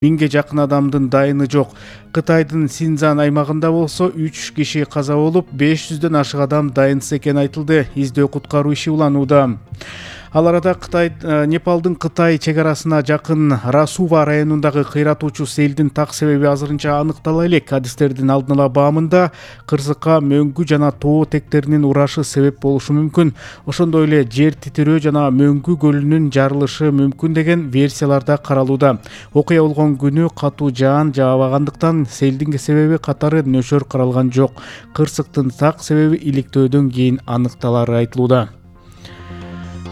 1000ге жакын адамдын дайыны жок. Кытайдын Синьцзян аймагында болсо 3 киши каза болуп, 500дөн ашык адам дайынсыз экени айтылды. Издөө куткаруу иши уланууда. Ал арада Непалдын Кытай чек арасына жакын Расува районундагы кыйратуучу селдин так себеби азырынча аныктала элек. Адистердин алдын ала баамында кырсыкка мөңгү жана тоо тектеринин урашы себеп болушу мүмкүн. Ошондой эле жер титирөө жана Мөңгү көлүнүн жарылышы мүмкүн деген версиялар да каралууда. Окуя болгон күнү катуу жаан жаабагандыктан селдин себеби катары нөшөр каралган жок. Кырсыктын так себеби иликтөөдөн кийин аныкталары айтылууда.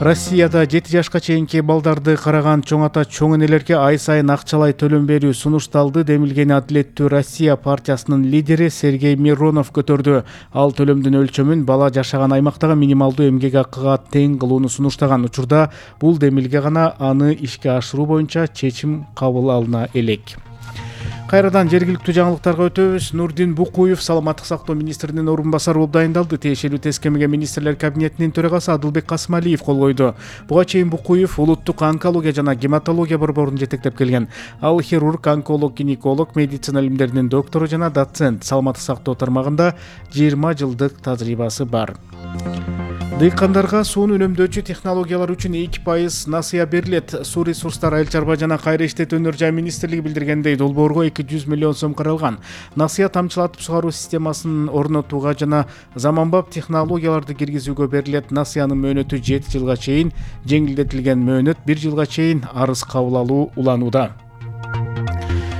Россияда 7 жашка чейинки балдарды караган чоң ата чоң энелерге ай сайын акчалай төлөм берүү сунушталды. Демилген Адилеттүү Россия партиясынын лидери Сергей Миронов көтөрдү. Ал төлөмдүн өлчөмүн бала жашаган аймактагы минималдуу эмгек акыга тең кылууну сунуштаган. Учурда бул демилге гана аны ишке ашыруу боюнча чечим кабыл алына элек. Кайрадан жергиликтүү жаңылыктарга өтөбүз. Нурдин Букуев саламаттык сактоо министринин орун басары болуп дайындалды. Тиешелүү тескемеге министрлер кабинетинин төрагасы Адылбек Касымалиев кол койду. Буга чейин Букуев улуттук онкология жана гематология борборун жетектеп келген. Ал хирург, онколог, гинеколог, медицина илимдеринин доктору жана доцент. Саламаттык сактоо тармагында 20 жылдык тажрыйбасы бар. Дыйкандарга сууну үнөмдөөчү технологиялар үчүн 2% насыя берилет. Суу ресурстары, айыл чарба жана кайра иштетүүнөр жай министрлиги билдиргендей, долбоорго 200 миллион сом каралган. Насыя тамчылатып сугаруу системасын орнотууга жана заманбап технологияларды киргизүүгө берилет. Насыянын мөөнөтү 7 жылга чейин, жеңилдетилген мөөнөт 1 жылга чейин арыз кабыл алуу уланууда.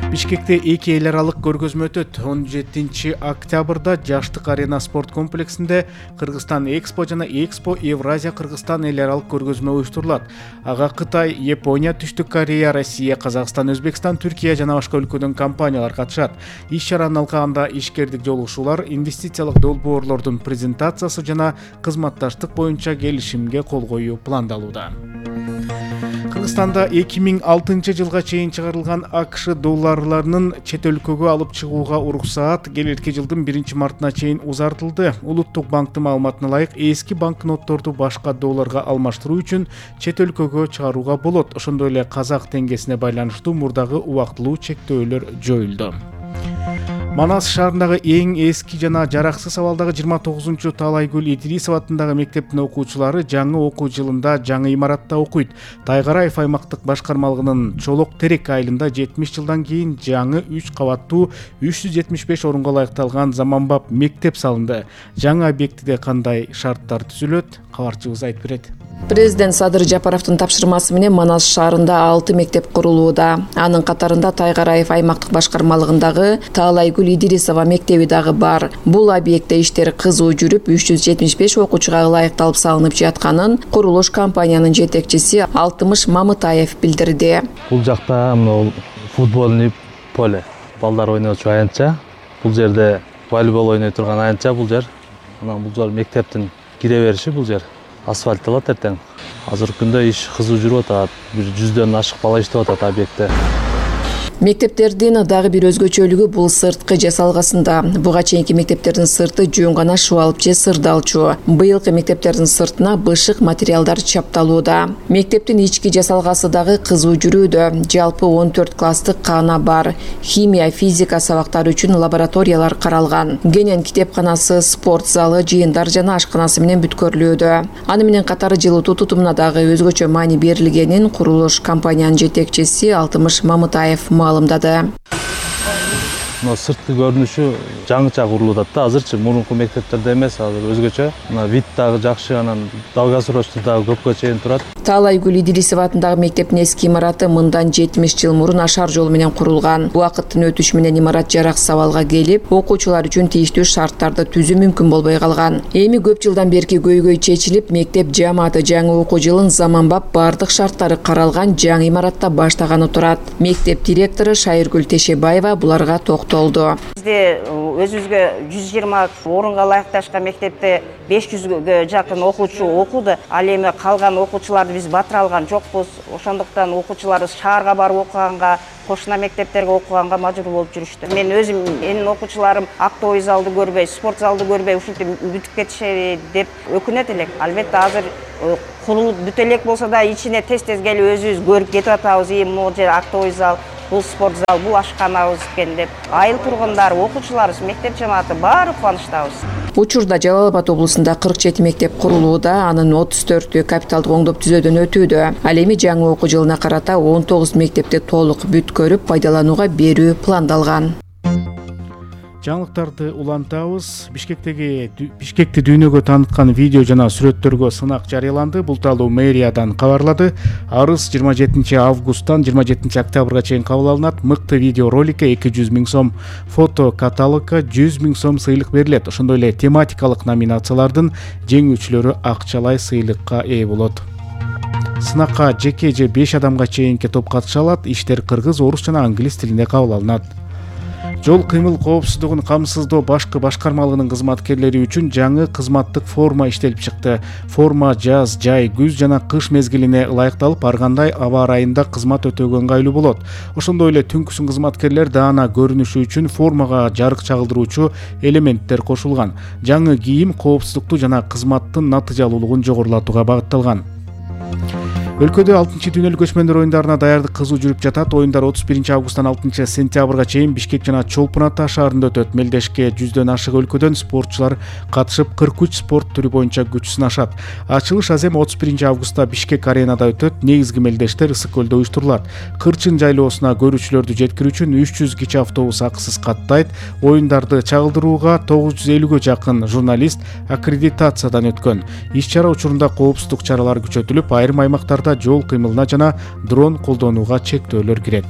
Бишкекте 2 эл аралык көргөзмө өтөт. 17 октябрда Жаштык арена спорт комплексинде Кыргызстан Экспо жана Экспо Евразия Кыргызстан эл аралык көргөзмө уюштурулат. Ага Кытай, Япония, Түштүк Корея, Россия, Казакстан, Өзбекстан, Түркия жана башка өлкөдөн компаниялар катышат. Иш чаранын алкагында ишкердик жолугушуулар, инвестициялык долбоорлордун презентациясы жана кызматташтык боюнча келишимге кол коюу пландалууда. Кыргызстанда 2006 жылга чейин чыгарылган АКШ долларларынын чет өлкөгө алып чыгууга уруксаат келерки жылдын 1-мартына чейин узартылды. Улуттук банктын маалыматына ылайык, эски банкнотторду башка долларга алмаштыруу үчүн чет өлкөгө чыгарууга болот. Ошондой эле казак теңгесине байланыштуу мурдагы убактылуу чектөөлөр жоюлду. Манас шаарындагы эң эски жана жараксыз абалдагы 29-чу Таалайгүл Идрисова атындагы мектептин окуучулары жаңы окуу жылында жаңы имаратта окуйт. Тайгараев аймактык башкармалыгынын Чолок Терек айылында 70 жылдан кийин жаңы 3 кабаттуу 375 орунга ылайыкталган заманбап мектеп салынды. Жаңы объектиде кандай шарттар түзүлөт? Кабарчыбыз айтып берет. Президент Садыр Жапаровдун тапшырмасы менен Манас шаарында 6 мектеп курулууда. Анын катарында Тайгараев аймактык башкармалыгындагы Таалайгүл Идрисова мектеби дагы бар. Бул объектте иштер кызуу жүрүп, 375 окуучуга ылайыкталып салынып жатканын курулуш компаниянын жетекчиси Алтымыш Мамытаев билдирди. Бул жакта футбольный поле, балдар ойночу аянтча. Бул жерде волейбол ойной турган аянтча бул жер. Анан бул жер мектептин кире бериши бул жер. Асфальтталат эртең. Азыркы күндө иш кызуу жүрүп атат. 100дөн ашык бала иштеп атат объектте. Мектептердин дагы бир өзгөчөлүгү бул сырткы жасалгасында. Буга чейинки мектептердин сырты жөн гана шубалып же сырдалчу. Быйылкы мектептердин сыртына бышык материалдар чапталууда. Мектептин ички жасалгасы дагы кызуу жүрүүдө. Жалпы 14 класстык каана бар. Химия, физика сабактары үчүн лабораториялар каралган. Кенен китепканасы, спорт залы, жыйындар жана ашканасы менен бүткөрүлүүдө. Аны менен катары жылытуу тутумуна дагы өзгөчө маани берилгенин курулуш компаниянын жетекчиси Алтымыш Мамытаев маалымдады. Сырткы көрүнүшү жаңыча курулуп атат да. Азырчы мурунку мектептерде эмес, азыр өзгөчө. Вид дагы жакшы, анан долгосрочный дагы көпкө чейин турат. Таалайгүл Идрисова атындагы мектептин эски имараты мындан 70 жыл мурун ашар жол менен курулган. Убакыттын өтүшү менен имарат жараксыз абалга келип, окуучулар үчүн тийиштүү шарттарды түзүү мүмкүн болбой калган. Эми көп жылдан берки көйгөй чечилип, мектеп жааматы жаңы окуу жылын заманбап бардык шарттары каралган жаңы имаратта баштаганы турат. Мектеп директору Шайыргүл Тешебаева буларга токтолду. Бизде өзүбүзгө 120 орунга ылайыкташкан мектепте 500гө жакын окуучу окуду. Ал эми калган окуучуларды биз батыра алган жокпуз. Ошондуктан окуучуларыбыз шаарга барып окуганга, кошуна мектептерге окуганга мажбур болуп жүрүштү. Мен өзүм, менин окуучуларым актовый залды көрбөй, спорт залды көрбөй ушинтип бүтүп кетишеби деп өкүнөт элек. Албетте азыр курулуп бүтө элек болсо да ичине тез келип өзүбүз көрүп кетип атабыз. Могу жер актовый зал, бул спорт зал, бул ашканабыз экен деп айыл тургундары, окуучуларыбыз, мектеп жамааты баары кубанычтабыз. Учурда Жалал Абад облусунда 47 мектеп курулууда, анын 34-ü капиталдык оңдоп түзөөдөн өтүүдө. Ал эми жаңы окуу жылына карата 19 мектепти толук бүткөрүп пайдаланууга берүү пландалган. Жаңылыктарды улантабыз. Бишкекти дүйнөгө тааныткан видео жана сүрөттөргө сынак жарыяланды. Бул тууралуу мэриядан кабарлады. Арыз 27 августтан 27 октябрга чейин кабыл алынат. Мыкты видео роликке 200 000 сом, фото каталогга 100 000 сом сыйлык берилет. Ошондой эле тематикалык номинациялардын жеңүүчүлөрү акчалай сыйлыкка ээ болот. Сынакка жеке же 5 адамга чейинки топ катыша алат. Иштер кыргыз, орус жана англис тилинде кабыл алынат. Жол кыймыл коопсуздугун камсыздоо башкы башкармалыгынын кызматкерлери үчүн жаңы кызматтык форма иштелип чыкты. Форма жаз, жай, күз жана кыш мезгилине ылайыкталып, ар кандай аба ырайында кызмат өтөөгө ыңгайлуу болот. Ошондой эле түнкүсүн кызматкерлер даана көрүнүшү үчүн формага жарык чагылдыруучу элементтер кошулган. Жаңы кийим коопсуздукту жана кызматтын натыйжалуулугун жогорулатууга багытталган. Өлкөдө 6-дүйнөлүк көчмөндөр оюндарына даярдык кызуу жүрүп жатат. Оюндар 31 августтан 6 сентябрга чейин Бишкек жана Чолпон Ата шаарында өтөт. Мелдешке 100дөн ашык өлкөдөн спортчулар катышып 43 спорт түрү боюнча күч сынашат. Ачылыш азем 31 августта Бишкек аренада өтөт. Негизги мелдештер Ысык көлдө уюштурулат. Кырчын жайлоосуна көрүүчүлөрдү жеткирүү үчүн 300 кичи автобус акысыз каттайт. Оюндарды чагылдырууга 950ге жакын журналист аккредитациядан өткөн. Иш-чара учурунда коопсуздук чаралары күчөтүлүп, айрым аймактарда жол кыймылына жана дрон колдонууга чектөөлөр кирет.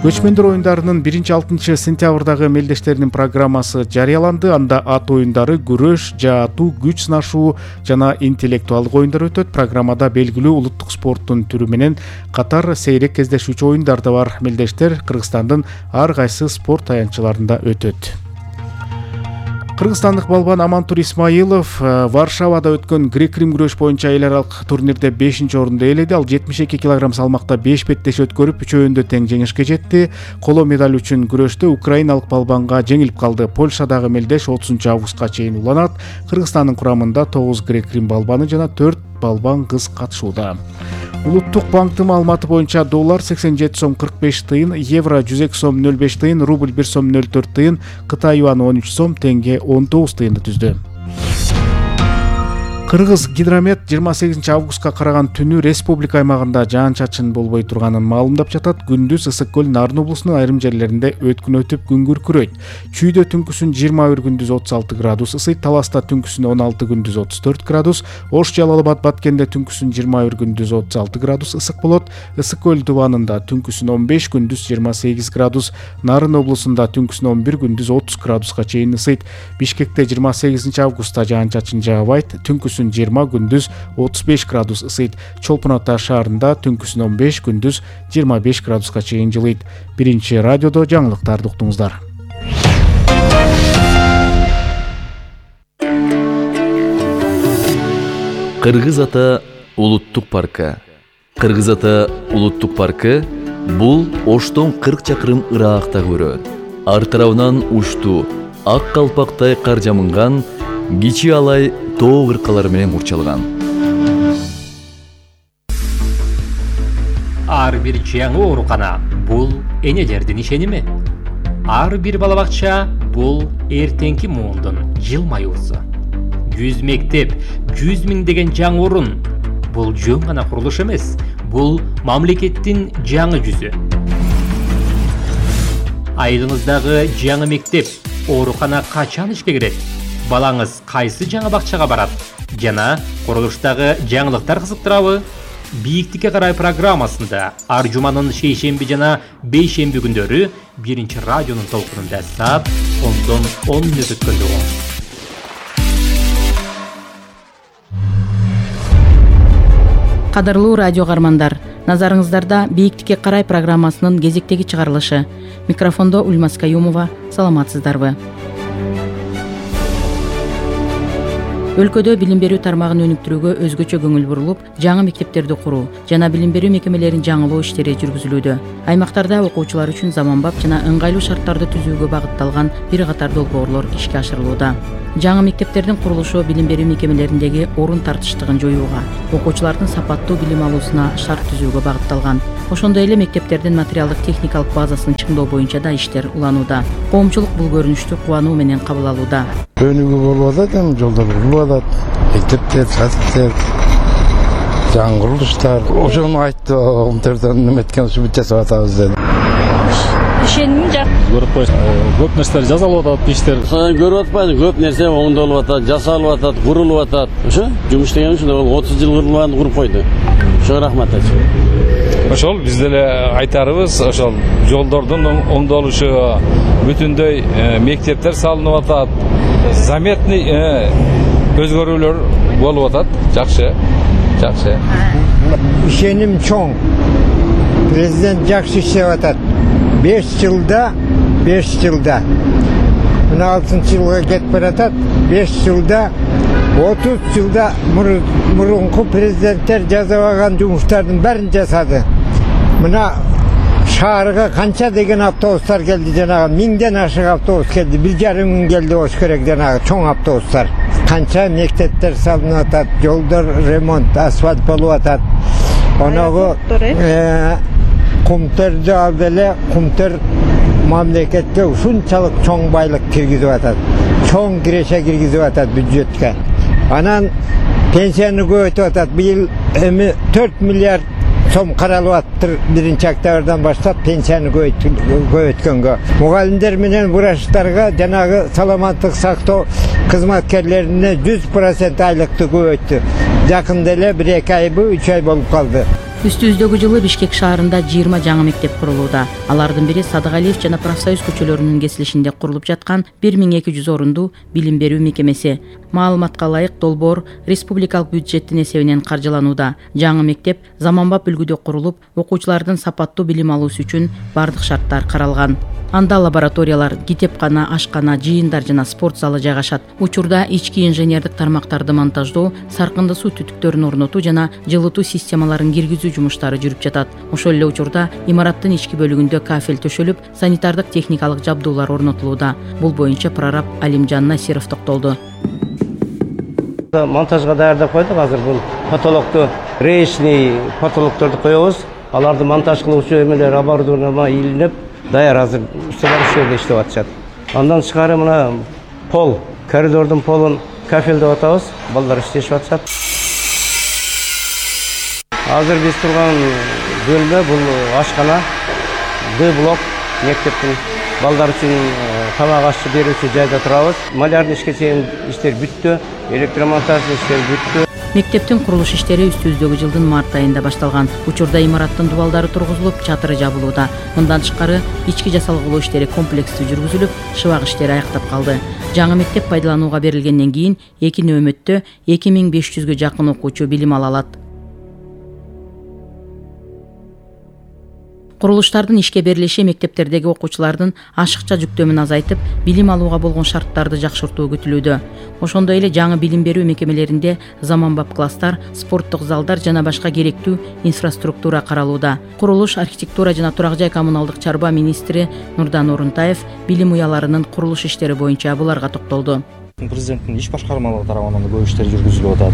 Көчмөндөр оюндарынын 1-6 сентябрдагы мелдештеринин программасы жарыяланды. Анда ат оюндары, күрөш, жаатуу, күч сынашуу жана интеллектуалдык оюндар өтөт. Программада белгилүү улуттук спорттун түрү менен катар сейрек кездешүүчү оюндар да бар. Мелдештер Кыргызстандын ар кайсы спорт таянчыларында өтөт. Кыргызстандык балбан Амантур Исмаилов Варшавада өткөн грек-рим күрөш боюнча эл аралык турнирде 5-орунду ээледи. Ал 72 кг салмакта 5 беттеш өткөрүп, үчөөндө тең жеңишке жетти. Коло медаль үчүн күрөштө украиналык балбанга жеңилип калды. Польшадагы мелдеш 30 августка чейин уланат. Кыргызстандын курамында 9 грек-рим балбаны жана 4 балбан кыз катышууда. Улуттук банктын маалыматы боюнча доллар 87 сом 45 тыйын, евро 102 сом 05 тыйын, рубль 1 сом 04 тыйын, Кытай юаны 13 сом, тенге 19 тыйынды түздү. Кыргыз гидромет 28 августка караган түнү республика аймагында жаан-чачын болбой турганын маалымдап жатат. Күндүз Ысык көл Нарын облусунун айрым жерлеринде өткүн өтүп күн күркүрөйт. Чүйдө түнкүсүн 21, күндүз 36 градус ысыйт. Таласта түнкүсүн 16, күндүз 34 градус. Ош Жалал Абад Баткенде түнкүсүн 21, күндүз 36 градус ысык болот. Ысык көл дубанында түнкүсүн 15, күндүз 28 градус. Нарын облусунда түнкүсүн 11, күндүз 30 градуска чейин ысыйт. Бишкекте 28 августта жаан-чачын жаабайт. Түнкүсүн 20, күндүз 35 градус ысыйт. Чолпон Ата шаарында түнкүсүн 15, күндүз 25 градуска чейин жылыйт. Биринчи радиодо жаңылыктарды уктуңуздар. Кыргыз Ата улуттук паркы. Кыргыз Ата улуттук паркы бул Оштон 40 чакырым ыраагактагы өрөөн. Ар тарабынан уштуу, ак калпактай кар жамынган, кичи алай тоо кыркалары менен курчалган. Ар бир жаңы оорукана бул энелердин ишеними. Ар бир бала бакча бул эртеңки муундун жылмаюусу. 100 мектеп, 100 000 деген жаңы орун. Бул жөн гана курулуш эмес, бул мамлекеттин жаңы жүзү. Айылыңыздагы жаңы мектеп, оорукана качан ишке кирет? Балаңыз кайсы жаңы бакчага барат? Жана курулуштагы жаңылыктар кызыктырабы? Бийиктикке карай программасында ар жуманын шейшемби жана бейшемби күндөрү биринчи радионун толкунунда саат 10 мүнөт өткөндө болот. Кадырлуу радио каармандар, назарыңыздарда Бийиктикке карай программасынын кезектеги чыгарылышы. Микрофондо Ульмас Каюмова. Саламатсыздарбы? Өлкөдө билим берүү тармагын өнүктүрүүгө өзгөчө көңүл бурулуп, жаңы мектептерди куруу жана билим берүү мекемелерин жаңылоо иштери жүргүзүлүүдө. Аймактарда окуучулар үчүн заманбап жана ыңгайлуу шарттарды түзүүгө багытталган бир катар долбоорлор ишке ашырылууда. Жаңы мектептердин курулушу билим берүү мекемелериндеги орун тартыштыгын жоюуга, окуучулардын сапаттуу билим алуусуна шарт түзүүгө багытталган. Ошондой эле мектептердин материалдык техникалык базасын чыңдоо боюнча да иштер уланууда. Коомчулук бул көрүнүштү кубануу менен кабыл алууда. Өнүгүү болуп атат, эми жолдор курулуп атат, мектептер, садиктер, жаңы курулуштар. Ошону айтты, комтерден неметкен ушу бүт жасап атабыз деди. Ишенимим жак. Көрүп коюш, көп нерселер жасалып атат, иштер. Көрүп атпайбы, көп нерсе оңдолуп атат, жасалып атат, курулуп атат. Ошо жумуш деген ушундай, 30 жыл курулган куруп койду. Ошого рахмат айтчу. Ошол биз деле айтарыбыз, ошол жолдордун оңдолушу, бүтүндөй мектептер салынып атат. Заметный өзгөрүүлөр болуп атат. Жакшы. Ишеним чоң. Президент жакшы иштеп атат. 5 жылда мына 6-чы жылга кетип баратат. 5 жылда 30 жылда мурунку президенттер жасабаган жумуштардын бәрин жасады. Мына шаарга канча деген автобустар келди, жанагы 1000ден ашык автобус келди, 1,5 мың келди болуш керек, жанагы чоң автобустар. Канча мектептер салынып атат, жолдор ремонт, асфальт болуп атат. Оногу кумтерди алды эле, кумтер мамлекетке ушунчалык чоң байлык киргизип атат. Чоң киреше киргизип атат бюджетке. Анан пенсияны көбөйтүп атат. Быйыл эми 4 миллиард сом каралып аттыр, 1-октябрдан баштап пенсияны көбөйткөнгө. Мугалимдер менен врачтарга жанагы саламаттык сактоо кызматкерлерине 100% айлыкты көбөйттү. Жакында эле 1-2 айбы 3 ай болуп калды. Үстүбүздөгү жылы Бишкек шаарында 20 жаңы мектеп курулууда. Алардын бири Садыгалиев жана Профсоюз көчөлөрүнүн кесилишинде курулуп жаткан 1200 орундуу билим берүү мекемеси. Маалыматка ылайык долбоор республикалык бюджеттин эсебинен каржыланууда. Жаңы мектеп заманбап үлгүдө курулуп, окуучулардын сапаттуу билим алуусу үчүн бардык шарттар каралган. Анда лабораториялар, китепкана, ашкана, жыйындар жана спорт залы жайгашат. Учурда ички инженердик тармактарды монтаждоо, саркынды суу түтүктөрүн орнотуу жана жылытуу системаларын киргизүү жумуштары жүрүп жатат. Ошол эле учурда имараттын ички бөлүгүндө кафель төшөлүп, санитардык техникалык жабдуулар орнотулууда. Бул боюнча прораб Алимжан Насиров токтолду. Монтажга даярдап койдук. Азыр бул потолокту, речный потолокторду коебуз. Аларды монтаж кылуучу эмелер оборудование илинип, даяр азыр усталар ушул иштеп атышат. Андан тышкары мына пол, коридордун полун кафелдеп атабыз. Балдар иштешип атышат. Азыр биз турган бөлмө бул ашкана, Д-блок мектептин балдар үчүн тамак ашчы берүүчү жайда турабыз. Малярный ишке чейин иштер бүттү, электромонтажный иштер бүттү. Мектептин курулуш иштери үстүбүздөгү жылдын март айында башталган. Учурда имараттын дубалдары тургузулуп, чатыры жабылууда. Мындан тышкары ички жасалгылоо иштери комплекстүү жүргүзүлүп, шыбак иштери аяктап калды. Жаңы мектеп пайдаланууга берилгенден кийин 2 нөөмөттө 2500гө жакын окуучу билим ала алат. Курулуштардын ишке берилиши мектептердеги окуучулардын ашыкча жүктөмүн азайтып, билим алууга болгон шарттарды жакшыртуу күтүлүүдө. Ошондой эле жаңы билим берүү мекемелеринде заманбап класстар, спорттук залдар жана башка керектүү инфраструктура каралууда. Курулуш, архитектура жана турак жай коммуналдык чарба министри Нурдан Орунтаев билим уяларынын курулуш иштери боюнча буларга токтолду. Президенттин иш башкармалыгы тарабынан көп иштер жүргүзүлүп атат.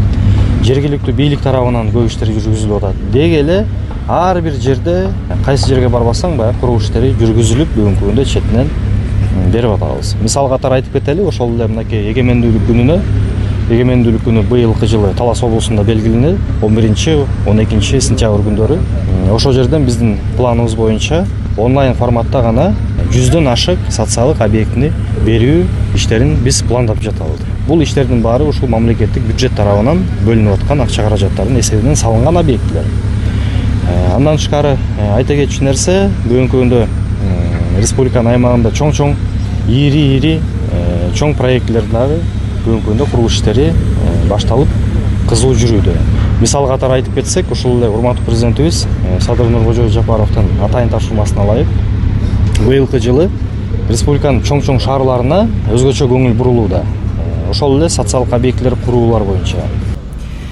Жергиликтүү бийлик тарабынан көп иштер жүргүзүлүп атат. Деги эле ар бир жерде кайсы жерге барбасаң баягы куруу иштери жүргүзүлүп, бүгүнкү күндө четинен берип атабыз. Мисал катары айтып кетели, ошол эле мынакей эгемендүүлүк күнү быйылкы жылы Талас облусунда белгиленет, 11-12 сентябрь күндөрү. Ошол жерден биздин планыбыз боюнча онлайн форматта гана 100дөн ашык социалдык объектини берүү иштерин биз пландап жатабыз. Бул иштердин баары ушул мамлекеттик бюджет тарабынан бөлүнүп аткан акча каражаттардын эсебинен салынган объектилер. Андан тышкары айта кетчү нерсе, бүгүнкү күндө республиканын аймагында чоң ири чоң проекттер дагы бүгүнкү күндө курулуш иштери башталып, кызуу жүрүүдө. Мисал катары айтып кетсек, ушул эле урматтуу президентибиз Садыр Нуркожоевич Жапаровдун атайын тапшырмасына ылайык быйылкы жылы республиканын чоң шаарларына өзгөчө көңүл бурулууда. ошол эле социалдык объектилер куруулар боюнча.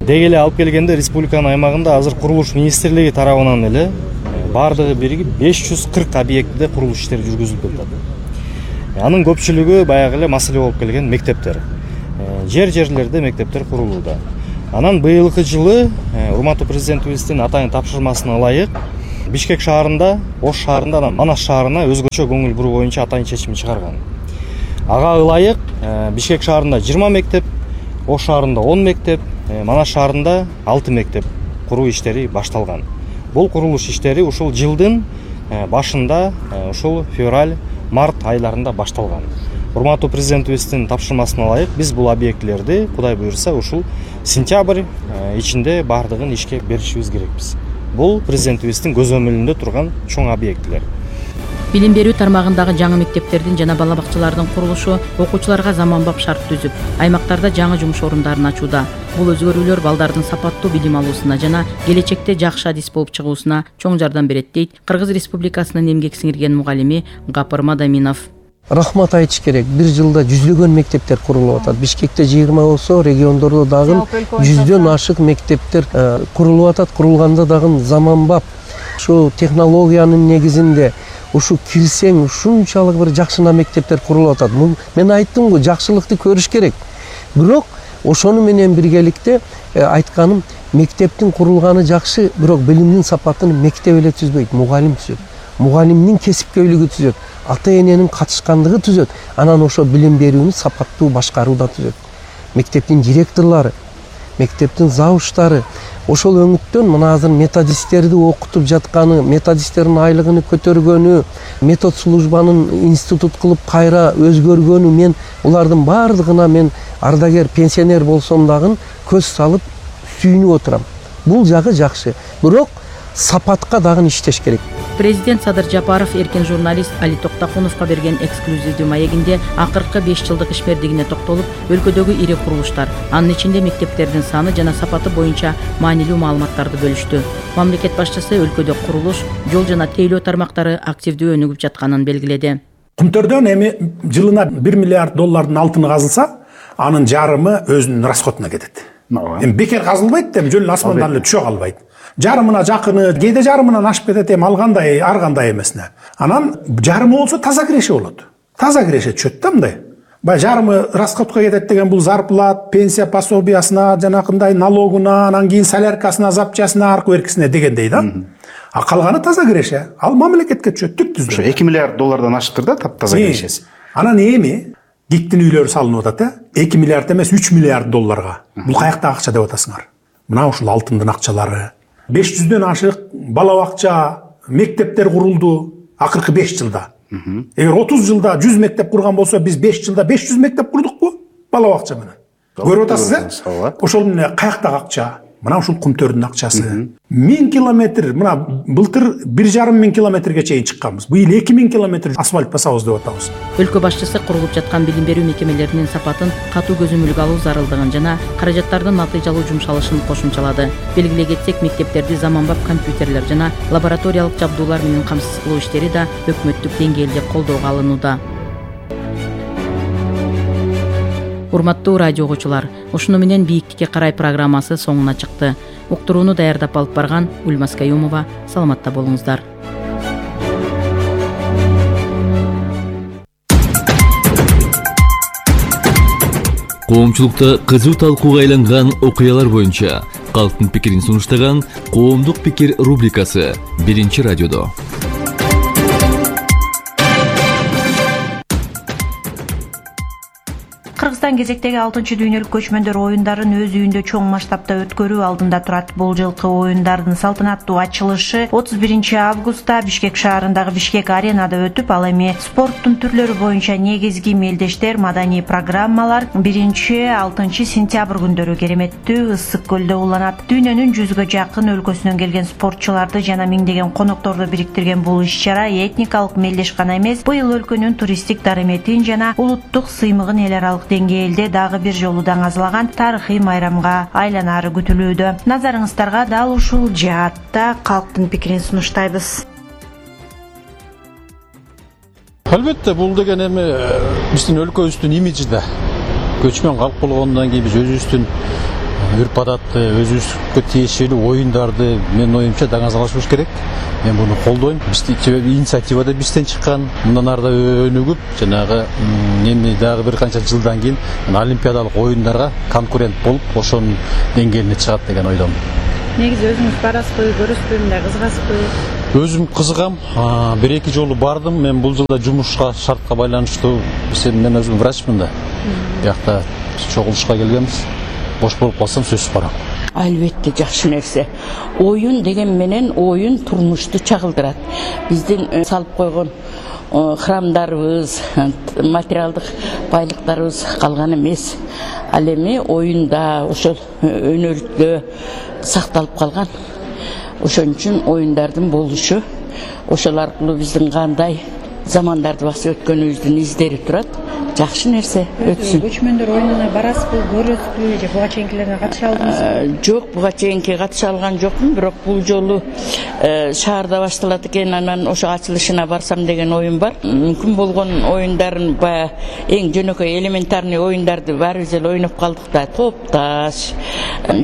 Деги эле алып келгенде республиканын аймагында азыр курулуш министрлиги тарабынан эле баардыгы биригип 540 объектиде курулуш иштери жүргүзүлүп жатат. Анын көпчүлүгү баягы эле маселе болуп келген мектептер. Жерлерде мектептер курулууда. Анан быйылкы жылы урматтуу президентибиздин атайын тапшырмасына ылайык Бишкек шаарында, Ош шаарында, Манас шаарына өзгөчө көңүл буруу боюнча атайын чечим чыгарган. Ага ылайык Бишкек шаарында 20 мектеп, Ош шаарында 10 мектеп, Манас шаарында 6 мектеп куруу иштери башталган. Бул курулуш иштери ушул жылдын башында, ушул февраль-март айларында башталган. Урматтуу президентибиздин тапшырмасына ылайык биз бул объектилерди Кудай буйрса ушул сентябрь ичинде баардыгын ишке беришибиз керекпиз. Бул президентибиздин көзөмөлүндө турган чоң объектилер. Билим берүү тармагындагы жаңы мектептердин жана бала бакчалардын курулушу окуучуларга заманбап шарт түзүп, аймактарда жаңы жумуш орундарын ачууда. Бул өзгөрүүлөр балдардын сапаттуу билим алуусуна жана келечекте жакшы адис болуп чыгуусуна чоң жардам берет дейт Кыргыз Республикасынын эмгек сиңирген мугалими Гапыр Мадаминов. Рахмат айтыш керек. Бир жылда жүздөгөн мектептер курулуп атат. Бишкекте 20 болсо, региондордо дагы 100дөн ашык мектептер курулуп атат. Курулганда дагы заманбап ушу технологиянын негизинде ушу кирсең ушунчалык бир жакшына мектептер курулуп атат. Мен айттым го, жакшылыкты көрүш керек. Бирок ошону менен биргеликте айтканым, мектептин курулганы жакшы, бирок билимдин сапатын мектеп эле түзбөйт, мугалим түзөт. Мугалимдин кесипкөйлүгү түзөт, ата эненин катышкандыгы түзөт, анан ошо билим берүүнү сапаттуу башкарууда түзөт. Мектептин директорлору, мектептин завуштары ошол өңүттөн мына азыр методисттерди окутуп жатканы, методисттердин айлыгын көтөргөнү, метод службанын институт кылып кайра өзгөргөнү, мен улардын баардыгына мен ардагер, пенсионер болсом дагы көз салып сүйүнүп отурам. Бул жагы жакшы, бирок сапатка дагы иштеш керек. Президент Садыр Жапаров эркен журналист Али Токтакуновго берген эксклюзивдүү маегинде акыркы 5 жылдык ишмердигине токтолуп, өлкөдөгү ири курулуштар, анын ичинде мектептердин саны жана сапаты боюнча маанилүү маалыматтарды бөлүштү. Мамлекет башчысы өлкөдө курулуш, жол жана тейлөө тармактары активдүү өнүгүп жатканын белгиледи. Кумтөрдөн эми жылына $1 миллиард алтыны казылса, анын жарымы өзүнүн расходуна кетет. Эми бекер казылбайт, эми жөн асмандан эле түшө калбайт. Жарымына жакыны, кээде жарымынан ашып кетет, эми алгандай, ар кандай эмесине. Анан жарымы болсо таза киреше болот. Таза киреше түшөт да мындай. Баягы жарымы расходко кетет деген бул зарплат, пенсия пособиясына, жанакындай налогуна, анан кийин соляркасына, запчасына, аркы беркисине дегендей да. А калганы таза киреше. Ал мамлекетке түшөт, түп түздө. Ошо $2 миллиард аштыр да таза кирешеси. Анан эми диктин үйлөрү салынып атат, 2 миллиард эмес, $3 миллиард. Бул каяктагы акча деп атасыңар? Мына ушул алтындын акчалары. 500дөн ашык бала бакча, мектептер курулду акыркы 5 жылда. Эгер 30 жылда 100 мектеп курган болсо, биз 5 жылда 500 мектеп курдукпу? Бала бакча менен. Көрүп атасыз, ошол менен каяктагы акча? Мына ушул Кумтөрдүн акчасы. 1000 километр, мына былтыр 1,5 километрге чейин чыкканбыз. Быйыл 2000 километр асфальт басабыз деп атабыз. Өлкө башчысы курулуп жаткан билим берүү мекемелеринин сапатын катуу көзөмөлгө алуу зарылдыгын жана каражаттардын натыйжалуу жумшалышын кошумчалады. Белгилей кетсек, мектептерди заманбап компьютерлер жана лабораториялык жабдуулар менен камсыз кылуу иштери да өкмөттүк деңгээлде колдоого алынууда. Урматтуу радио угуучулар, ушуну менен бийиктикке карай программасы соңуна чыкты. Уктурууну даярдап алып барган Ульмас Каюмова, саламатта болуңуздар. Коомчулукта кызуу талкууга айланган окуялар боюнча калктын пикирин сунуштаган Коомдук пикир рубрикасы 1-радиодо. Кыргызстан кезектеги 6-дүйнөлүк көчмөндөр оюндарын өз үйүндө чоң масштабта өткөрүү алдында турат. Бул жылкы оюндардын салтанаттуу ачылышы 31 августта Бишкек шаарындагы Бишкек аренада өтүп, ал эми спорттун түрлөрү боюнча негизги мелдештер, маданий программалар 1-6 сентябрь күндөрү кереметтүү ысык көлдө уланат. Дүйнөнүн 100гө жакын өлкөсүнөн келген спортчуларды жана миңдеген конокторду бириктирген бул иш-чара этникалык мелдеш гана эмес, быйыл өлкөнүн туристтик дарыметин жана улуттук сыймыгын эл аралык деңгээлде дагы бир жолу даңазалаган тарыхый майрамга айланары күтүлүүдө. Назарыңыздарга дал ушул жаатта калктын пикирин сунуштайбыз. Албетте, бул деген эми биздин өлкөбүздүн имиджи да. көчмөн калк болгондон кийин биз өзүбүздүн үрп адатты, өзүбүзгө тиешелүү оюндарды менин оюмча даңазалашыбыз керек. Мен буну колдойм. Инициатива да бизден чыккан. Мындан ары да өнүгүп, жанагы эми дагы бир канча жылдан кийин олимпиадалык оюндарга конкурент болуп, ошонун деңгээлине чыгат деген ойдомун. Негизи өзүңүз барасызбы, көрөсүзбү, мындай кызыгасызбы? Өзүм кызыгам. Бир-эки жолу бардым. Мен бул жылда жумушка, шартка байланыштуу, мен өзүм врачмын да. Биякта чогулушка келгенбиз. Бош болуп калсам сөзсүз барам. Албетте жакшы нерсе. Оюн деген менен оюн турмушту чагылдырат. Биздин салып койгон храмдарыбыз, материалдык байлыктарыбыз калган эмес. Ал эми оюнда, ошол өнөрдө сакталып калган. Ошон үчүн оюндардын болушу, ошол аркылуу биздин кандай замандарды басып өткөнүбүздүн издери турат. Жакшы нерсе өтсүн. Көчмөндөр оюнуна барасызбы, көрөсүзбү, же буга чейинкилерге катыша алдыңызбы? Жок, буга чейинки катыша алган жокмун, бирок бул жолу шаарда башталат экен, анан ошо ачылышына барсам деген оюм бар. Мүмкүн болгон оюндарын баягы эң жөнөкөй элементарный оюндарды баарыбыз эле ойноп калдык да. Топ-таш,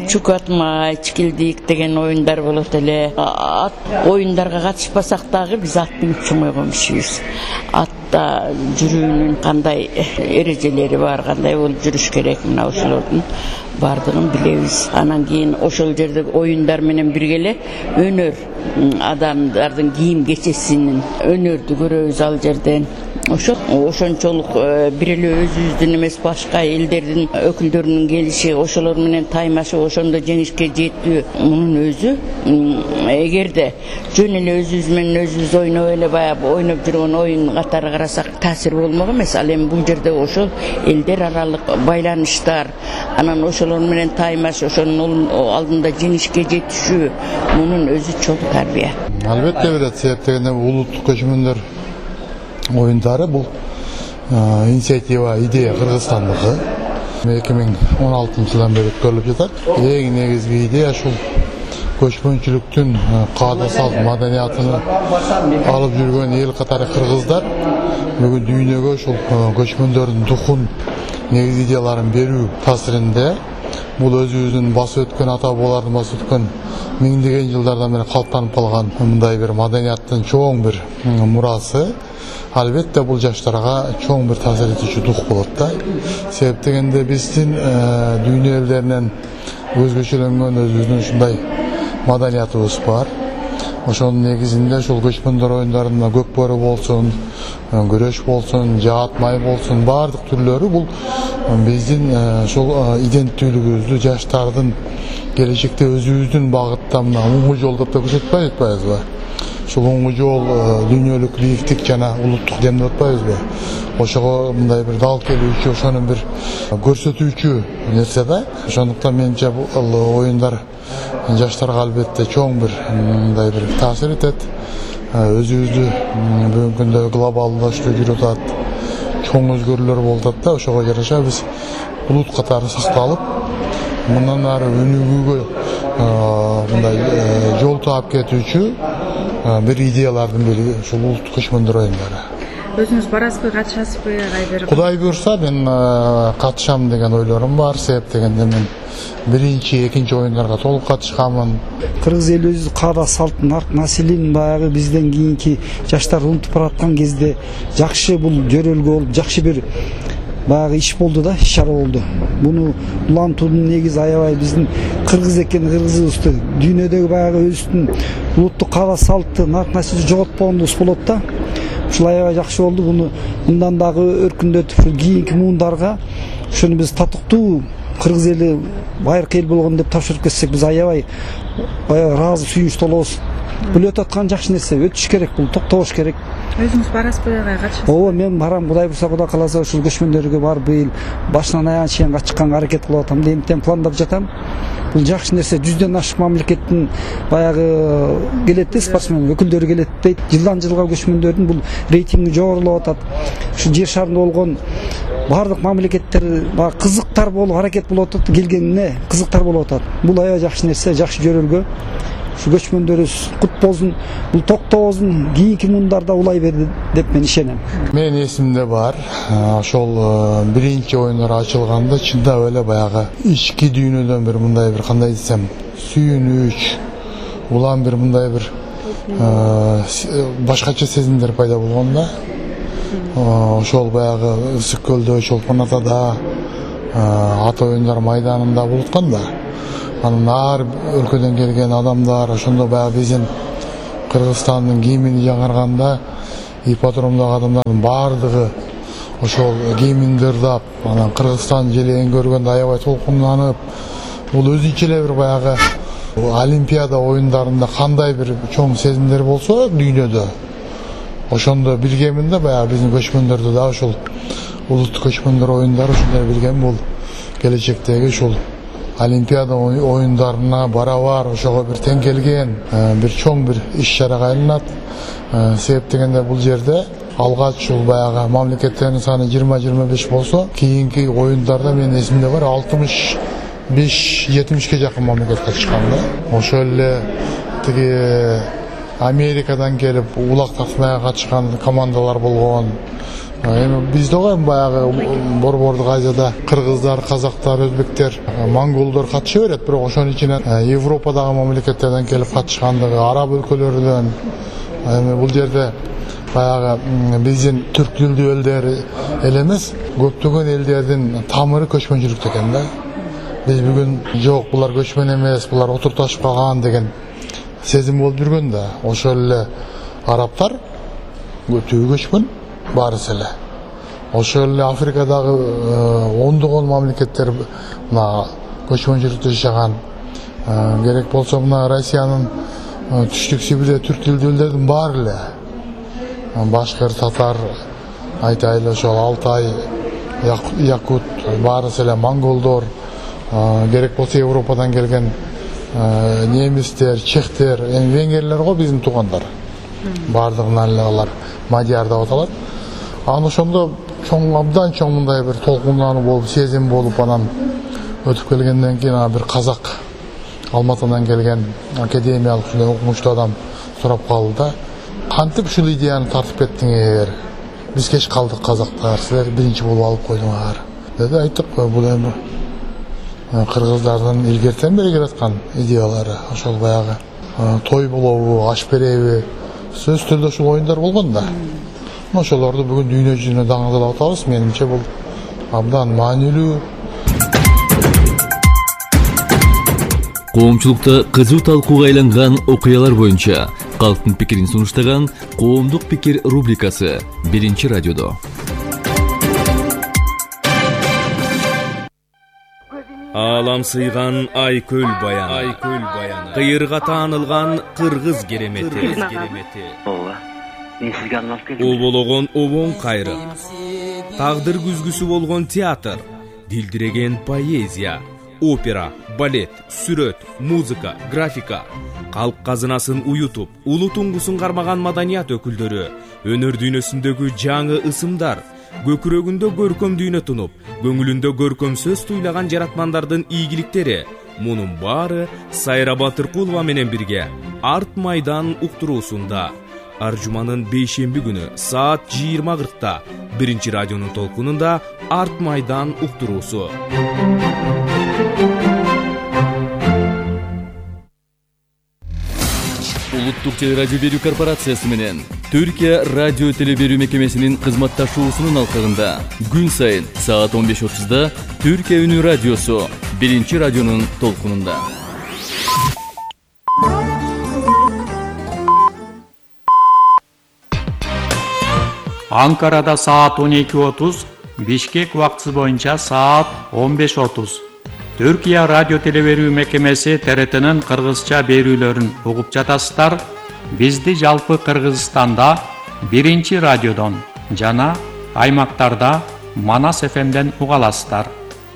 чук атмай, чикилдик деген оюндар болот эле. Ат оюндарга катышпасак дагы биз ат минип чоңойгон кишибиз. Атта жүрүүнүн кандай эрежелери бар, кандай болуп жүрүш керек, мына ошолордун бардыгын билебиз. Анан кийин ошол жерде оюндар менен бирге эле өнөр адамдардын кийим кечесинин өнөрдү көрөбүз ал жерден. Ошончолук бир эле өзүбүздүн эмес, башка элдердин өкүлдөрүнүн келиши, ошолор менен таймашып, ошондо жеңишке жетүү, мунун өзү эгерде жөн эле өзүбүз менен өзүбүз ойноп эле баягы ойноп жүргөн оюн катары карасак таасир болмок эмес. Ал эми бул жерде ошол элдер аралык байланыштар, анан ошолор менен таймаш, ошонун алдында жеңишке жетишүү, мунун өзү чоң тарбия. Албетте берет, себеп дегенде улуттук көчмөндөр оюндары бул инициатива, идея Кыргызстандыкы. 2016 жылдан бери өткөрүлүп жатат. Эң негизги идея ушул көчмөнчүлүктүн каада салт маданиятын алып жүргөн эл катары кыргыздар бүгүн дүйнөгө ушул көчмөндөрдүн духун, негизи идеяларын берүү таасиринде бул өзүбүздүн басып өткөн ата бабалардын басып өткөн миңдеген жылдардан бери калыптанып калган мындай бир маданияттын чоң бир мурасы. Албетте бул жаштарга чоң бир таасир этүүчү дух болот да. Себеп дегенде биздин дүйнө элдеринен өзгөчөлөнгөн өзүбүздүн ушундай маданиятыбыз бар. Ошонун негизинде ушул көчмөндөр оюндарында көк бөрү болсун, күрөш болсун, жаат май болсун, баардык түрлөрү бул биздин ушул иденттүүлүгүбүздү, жаштардын келечекте өзүбүздүн багытта мына оңгу жол деп көрсөтпөй атпайбызбы? Ушул оңгу жол дүйнөлүк бийиктик жана улуттук дем деп атпайбызбы? Ошого мындай бир дал келүүчү, ошонун бир көрсөтүүчү нерсе да. Ошондуктан менимче бул оюндар жаштарга албетте чоң бир мындай бир таасир этет. Өзүбүздү бүгүнкү күндө глобалдашуу жүрүп атат, чоң өзгөрүүлөр болуп атат да. Ошого жараша биз улут катары сакталып, мындан ары өнүгүүгө мындай жол таап кетүүчү бир идеялардын бири ушул улуттук көчмөндөр оюндары. Өзүңүз барасызбы, катышасызбы, кайбир? Кудай буйрса мен катышам деген ойлорум бар. Себеп дегенде мен биринчи, экинчи оюндарга толук катышканмын. Кыргыз элибиздин каада салтын, арк населин баягы бизден кийинки жаштар унутуп бараткан кезде жакшы бул жөрөлгө болуп, жакшы бир баягы иш болду да, иш-чара болду. Буну улантуунун негизи аябай биздин кыргыз экен, кыргызыбызды дүйнөдөгү баягы өзүбүздүн улуттук каада салттын, арк населин жоготпогонубуз болот да. Ушул аябай жакшы болду. Буну мындан дагы өркүндөтүп, кийинки муундарга ошону биз татыктуу кыргыз эли байыркы эл болгон деп тапшырып кетсек, биз аябай ыраазы, сүйүнүч толобуз. Бул өтүп аткан жакшы нерсе, өтүш керек, бул токтош керек. Өзүңүз барасызбы, катышасызбы? Ооба, мен барам. Кудай буйрса, Кудай кааласа ушул көчмөндөргө барып быйыл башынан аягына чейин чыкканга аракет кылып атам. Эмтен пландап жатам. Бул жакшы нерсе. 100дөн ашык мамлекеттин баягы келет да, спортсмен өкүлдөрү келет дейт. Жылдан жылга көчмөндөрдүн бул рейтинги жогорулап атат. Ушу жер шарында болгон баардык мамлекеттер баягы кызыктар болуп аракет болуп атат, келгенине кызыктар болуп атат. Бул аябай жакшы нерсе, жакшы жөрөлгө. ушу көчмөндөрүбүз кут болсун, бул токтобосун, кийинки муундарда улай берди деп мен ишенем. Менин эсимде бар. Ошол биринчи оюндар ачылганда чындап эле баягы ички дүйнөдөн бир мындай бир кандай десем, сүйүнүч, улам бир мындай бир башкача сезимдер пайда болгон да. Ошол баягы Ысык көлдө, Чолпон Атада, ат оюндар майданында болуп да. Анын ар өлкөдөн келген адамдар ошондо баягы биздин Кыргызстандын гимни жаңырганда ипподромдогу адамдардын баардыгы ошол гимнди ырдап, анан Кыргызстан желегин көргөндө аябай толкунданып, бул өзүнчө эле бир баягы Олимпиада оюндарында кандай бир чоң сезимдер болсо дүйнөдө, ошондо билгемин да, баягы биздин көчмөндөрдө да ошол улуттук көчмөндөр оюндары ушундай билгем, бул келечектеги ушул Олимпиада оюндарына барабар ошого бир тең келген бир чоң бир иш-чарага айланат. Себеп дегенде бул жерде алгач ушул баягы мамлекеттердин саны 20-25 болсо, кийинки оюндарда менин эсимде бар 65-70ке жакын мамлекет катышкан да. Ошол эле тиги Америкадан келип улак тартмайга катышкан командалар болгон. Эми бизде го баягы Борбордук Азияда кыргыздар, казактар, өзбектер, монголдор катыша берет, бирок ошонун ичинен Европадагы мамлекеттерден келип катышкандыгы, араб өлкөлөрүнөн. Эми бул жерде баягы биздин түрк тилдүү элдер эле эмес, көптөгөн элдердин тамыры көчмөнчүлүктө экен да. Биз бүгүн жок, булар көчмөн эмес, булар отурташып калган деген сезим болуп жүргөн да. Ошол эле арабтар көптүгү көчмөн, баарысы эле. Ошол эле Африкадагы ондогон мамлекеттер мына көчмөнчүлүктө жашаган. Керек болсо мына Россиянын түштүк Сибирде түрк тилдүү элдердин баары эле. Башкыр, татар, айтайлы ошол Алтай, якут, баарысы эле монголдор, керек болсо Европадан келген немистер, чехтер, эми венгерлер го биздин туугандар. Баардыгынан эле алар мадияр деп аталат. Анан ошондо чоң, абдан чоң мындай бир толкундануу болуп, сезим болуп, анан өтүп келгенден кийин бир казак Алматыдан келген академиялык ушундай окумуштуу адам сурап калды да, кантип ушул идеяны тартып кеттиңер? Биз кеч калдык казактар, силер биринчи болуп алып койдуңар деди. Айттык, бул эми кыргыздардын илгертен бери келаткан идеялары. Ошол баягы той болобу, аш береби, сөзсүз түрдө ушул оюндар болгон да. Ошолорду бүгүн дүйнө жүзүнө даңгылдап атабыз. Менимче бул абдан маанилүү. Коомчулукта кызуу талкууга айланган окуялар боюнча калктын пикирин сунуштаган Коомдук пикир рубрикасы биринчи радиодо. Алам сыйган Айкөл баяны, кыйырга таанылган кыргыз керемети. Обологон обоң кайры, тагдыр күзгүсү болгон театр, дилдиреген поэзия, опера, балет, сүрөт, музыка, графика, калк казынасын уютуп, улуу туңгусун кармаган маданият өкүлдөрү, өнөр дүйнөсүндөгү жаңы ысымдар, көкүрөгүндө көркөм дүйнө тунуп, көңүлүндө көркөм сөз туйлаган жаратмандардын ийгиликтери, мунун баары Сайра Батыркулова менен бирге Арт майдан уктуруусунда ар жуманын бейшемби күнү саат 20:40 биринчи радионун толкунунда Арт майдан уктуруусу. Улуттук телерадио берүү корпорациясы менен Түркия радио телеберүү мекемесинин кызматташуусунун алкагында күн сайын саат 15:30 Түркия үнү радиосу биринчи радионун толкунунда. Анкарада саат 12:30, Бишкек убактысы боюнча саат 15:30. Түркия радио телеберүү мекемеси ТРТнын кыргызча берүүлөрүн угуп жатасыздар. Бизди жалпы Кыргызстанда биринчи радиодон жана аймактарда Манас ФМден уга аласыздар.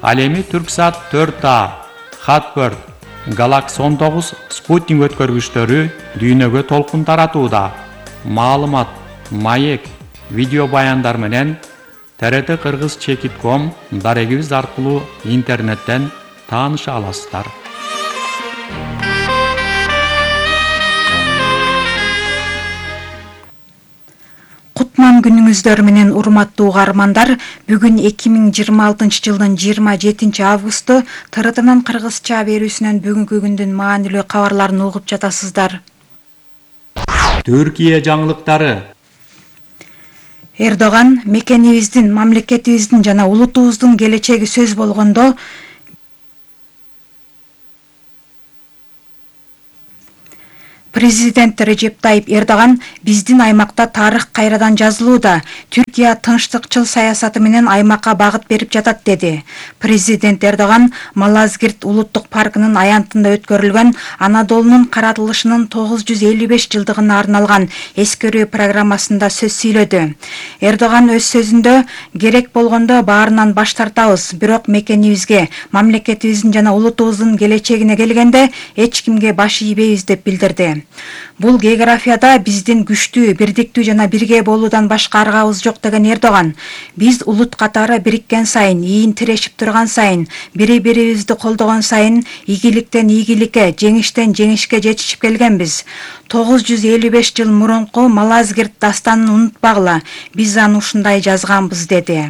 Ал эми Түрксат 4А, Хатбird, Galaxy 19 спутник өткөргүчтөрү дүйнөгө толкун таратууда. Маалымат, маек, видео баяндар менен TRT Kırgız.com дарегибиз аркылуу интернеттен тааныша аласыздар. күнүңүздөр менен урматтуу угармандар. Бүгүн 2026 жылдын 27 августу ТРТнын кыргызча берүүсүнөн бүгүнкү күндүн маанилүү кабарларын угуп жатасыздар. Түркия жаңылыктары. Эрдоган мекенибиздин, мамлекетибиздин жана улутубуздун келечеги сөз болгондо Президент Режеп Тайип Эрдоган биздин аймакта тарых кайрадан жазылууда. Түркия тынчтыкчыл саясаты менен аймакка багыт берип жатат деди. Президент Эрдоган Малазгирт улуттук паркынын аянтында өткөрүлгөн Анадолунун каратылышынын 955 жылдыгына арналган эскерүү программасында сөз сүйлөдү. Эрдоган өз сөзүндө керек болгондо баарынан баш тартабыз, бирок мекенибизге, мамлекетибиздин жана улутубуздун келечегине келгенде эч кимге баш ийбейбиз деп билдирди. Бул географияда биздин күчтүү, бирдиктүү жана бирге болуудан башка аргабыз жок деген Эрдоган. Биз улут катары бириккен сайын, ийин тирешип турган сайын, бири-бирибизди колдогон сайын ийгиликтен ийгиликке, жеңиштен жеңишке жетишип келгенбиз. 955 жыл мурунку Малазгирт дастанын унутпагыла. Биз аны ушундай жазганбыз деди.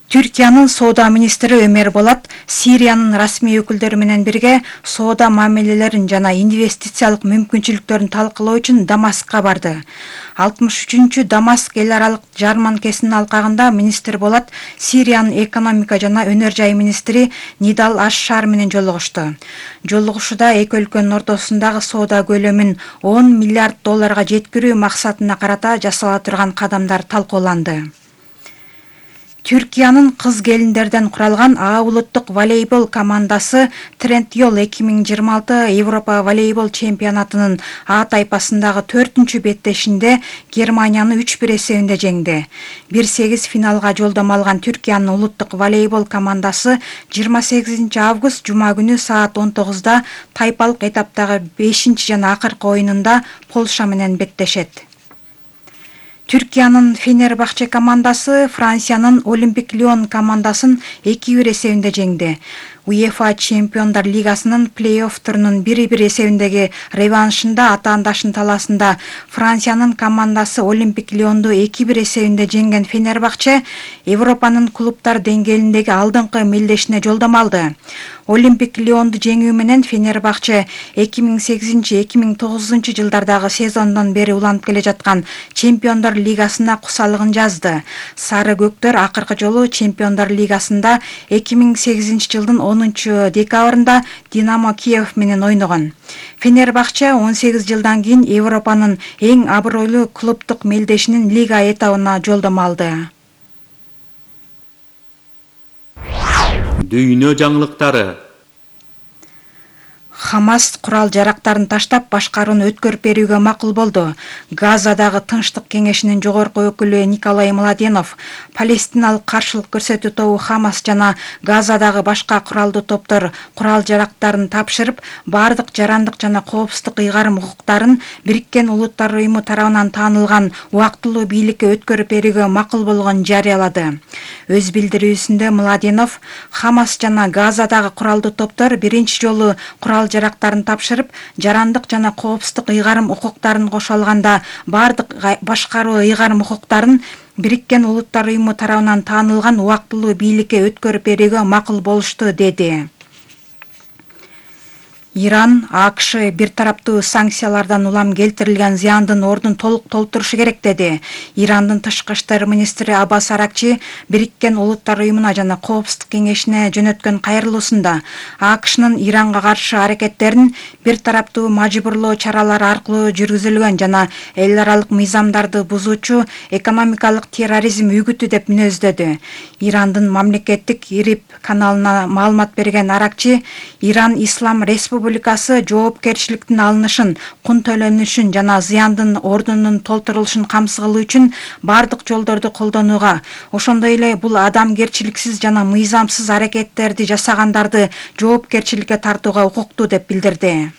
Түркиянын соода министри Өмер Болат Сириянын расмий өкүлдөрү менен бирге соода мамилелерин жана инвестициялык мүмкүнчүлүктөрүн талкылоо үчүн Дамаскка барды. 63-чү Дамаск эл аралык жарманкесинин алкагында министр Болат Сириянын экономика жана өнөр жай министри Нидал Аш-Шар менен жолугушту. Жолугушууда эки өлкөнүн ортосундагы соода көлөмүн 10 миллиард долларга жеткирүү максатына карата жасала турган кадамдар талкууланды. Түркиянын кыз келиндерден куралган А улуттук волейбол командасы Трентьол 2026 Европа волейбол чемпионатынын А тайпасындагы 4-чү беттешинде Германияны 3-1 эсебинде жеңди. 1-8 финалга жолдомо алган Түркиянын улуттук волейбол командасы 28 август жума күнү саат 19-да тайпалык этаптагы 5-чи жана акыркы оюнунда Полша менен беттешет. Түркиянын Фенербахче командасы Франциянын Олимпик Лион командасын 2-1 эсебинде жеңди. УЕФА Чемпиондар Лигасынын плей-офф турунун 1-1 эсебиндеги реваншында атаандашын таласында Франциянын командасы Олимпик Лионду 2-1 эсебинде жеңген Фенербахче Европанын клубтар деңгээлиндеги алдыңкы мелдешине жолдомо алды. Олимпик Лионду жеңүү менен Фенербахче 2008-2009 жылдардагы сезондон бери уланып келе жаткан Чемпиондар Лигасына кусалыгын жазды. Сары көктөр акыркы жолу Чемпиондар Лигасында 2008 жылдын 10 декабрында Динамо Киев менен ойногон. Фенербахче 18 жылдан кийин Европанын эң абройлуу клубтук мелдешинин лига этабына жолдомо алды. Дүйнө жаңылыктары. Хамас курал жарактарын таштап башкарууну өткөрүп берүүгө макул болду. Газадагы Тынчтык кеңешинин жогорку өкүлү Николай Младенов Палестиналык каршылык көрсөтүү тобу Хамас жана Газадагы башка куралдуу топтор курал жарактарын тапшырып, бардык жарандык жана коопсуздук ыйгарым укуктарын Бириккен Улуттар уюму тарабынан таанылган убактылуу бийликке өткөрүп берүүгө макул болгонун жарыялады. Өз билдирүүсүндө Младенов Хамас жана Газадагы куралдуу топтор биринчи жолу курал жарактарын тапшырып, жарандык жана коопсуздук ыйгарым укуктарын кошо алганда бардык башкаруу ыйгарым укуктарын Бириккен Улуттар уюму тарабынан таанылган убактылуу бийликке өткөрүп берүүгө макул болушту деди. Иран, АКШ бир тараптуу санкциялардан улам келтирилген зыяндын ордун толук толтурушу керек деди. Ирандын тышкы иштер министри Аббас Аракчи Бириккен Улуттар уюмуна жана Коопсуздук кеңешине жөнөткөн кайрылуусунда АКШнын Иранга каршы аракеттерин бир тараптуу мажбурлоо чаралары аркылуу жүргүзүлгөн жана эл аралык мыйзамдарды бузуучу экономикалык терроризм үгүтү деп мүнөздөдү. Ирандын мамлекеттик ИРИБ каналына маалымат берген Аракчи Иран Ислам Республикасы жоопкерчиликтин алынышын, кун төлөнүшүн жана зыяндын ордунун толтурулушун камсыз кылуу үчүн бардык жолдорду колдонууга, ошондой эле бул адамгерчиликсиз жана мыйзамсыз аракеттерди жасагандарды жоопкерчиликке тартууга укуктуу деп билдирди.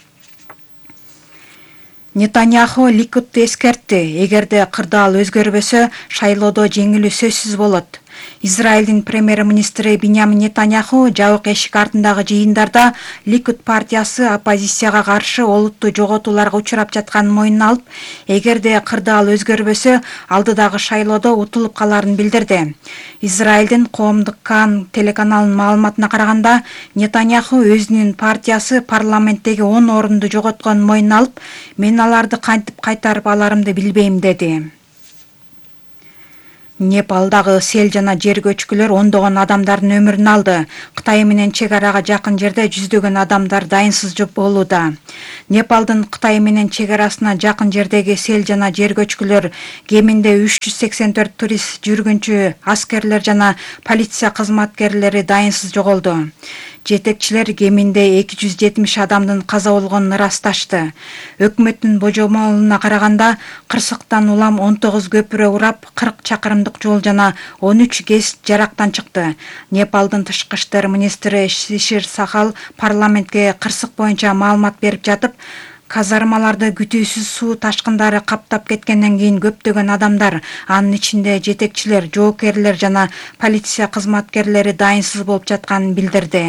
Нетаньяху Ликудду эскертти, эгерде кырдаал өзгөрбөсө, шайлоодо жеңилүү сөзсүз болот. Израилдин премьер-министри Биньямин Нетаньяху жабык эшик артындагы жыйындарда Ликуд партиясы оппозицияга каршы олуттуу жоготууларга учурап жатканын мойнуна алып, эгерде кырдаал өзгөрбөсө, алдыдагы шайлоодо утулуп каларын билдирди. Израилдин коомдук Кан телеканалынын маалыматына караганда, Нетаньяху өзүнүн партиясы парламенттеги 10 орунду жоготконун мойнуна алып, мен аларды кантип кайтарып аларымды билбейм деди. Непалдагы сел жана жер көчкүлөр ондогон адамдардын өмүрүн алды. Кытай менен чек арага жакын жерде жүздөгөн адамдар дайынсыз болууда. Непалдын Кытай менен чек арасына жакын жердеги сел жана жер көчкүлөр кеминде 384 турист, жүргүнчү, аскерлер жана полиция кызматкерлери дайынсыз жоголду. Жетекчилер кеминде 270 адамдын каза болгонун ырасташты. Өкмөттүн божомолуна караганда, кырсыктан улам 19 көпүрө урап, 40 чакырымдык жол жана 13 ГЭС жарактан чыкты. Непалдын тышкы иштер министри Шишир Сахал парламентке кырсык боюнча маалымат берип жатып, казармаларды күтүүсүз суу ташкындары каптап кеткенден кийин көптөгөн адамдар, анын ичинде жетекчилер, жоокерлер жана полиция кызматкерлери дайынсыз болуп жатканын билдирди.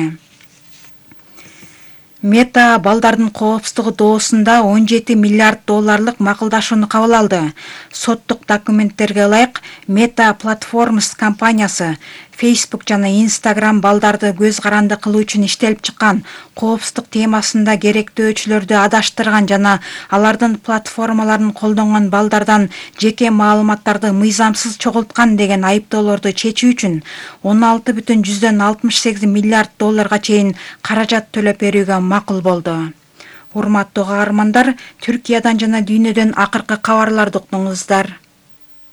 Мета балдардын коопсуздугу доосунда 17 миллиард долларлык макулдашууну кабыл алды. Соттук документтерге ылайык, Meta Platforms компаниясы Facebook жана Instagram балдарды көз каранды кылуу үчүн иштелип чыккан коопсуздук темасында керектөөчүлөрдү адаштырган жана алардын платформаларын колдонгон балдардан жеке маалыматтарды мыйзамсыз чогулткан деген айыптоолорду чечүү үчүн 16,68 миллиард долларга чейин каражат төлөп берүүгө макул болду. Урматтуу каармандар, Түркиядан жана дүйнөдөн акыркы кабарларды уктуңуздар.